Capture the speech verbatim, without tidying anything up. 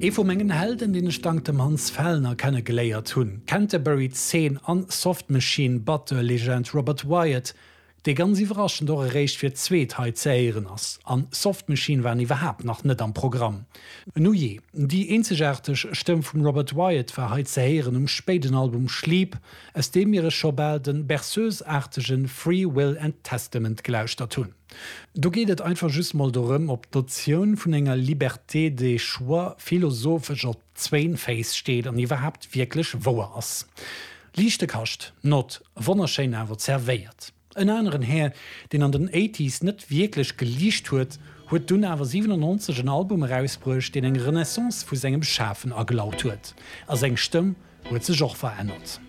Ee vu mengen Helden, deen ech dank dem Hans Fellner kennegeléiert hunn. Canterbury Zeen an Soft Machine Batteur Legend Robert Wyatt, dee ganz iwwerraschend och eréischt fir d'zweet hei ze héieren ass. An Soft Machine waren iwwerhaapt nach net am Programm. Nujee, déi eenzegaarteg Stëmm vum Robert Wyatt war hei ze héieren um spéiden Album Sleep, aus deem mir scho bal de Berceuse-aartege Free Will and Testament gelauschtert hunn. Do geet et einfach just mol dorëm, ob d'Notioun vun enger Liberté de choix philosophesch op zwéin Féiss steet an iwwerhaapt wierklech wouer ass. Liichte Kascht, not wonnerschéin awer zerwéiert. En aneren Här, deen an den Eighties net wierklech geliicht huet, huet dunn awer siwenannonzeg en Album erausbruecht, deen eng Renaissance vu sengem Schafen agelaut huet. A seng Stëmm huet sech och verännert.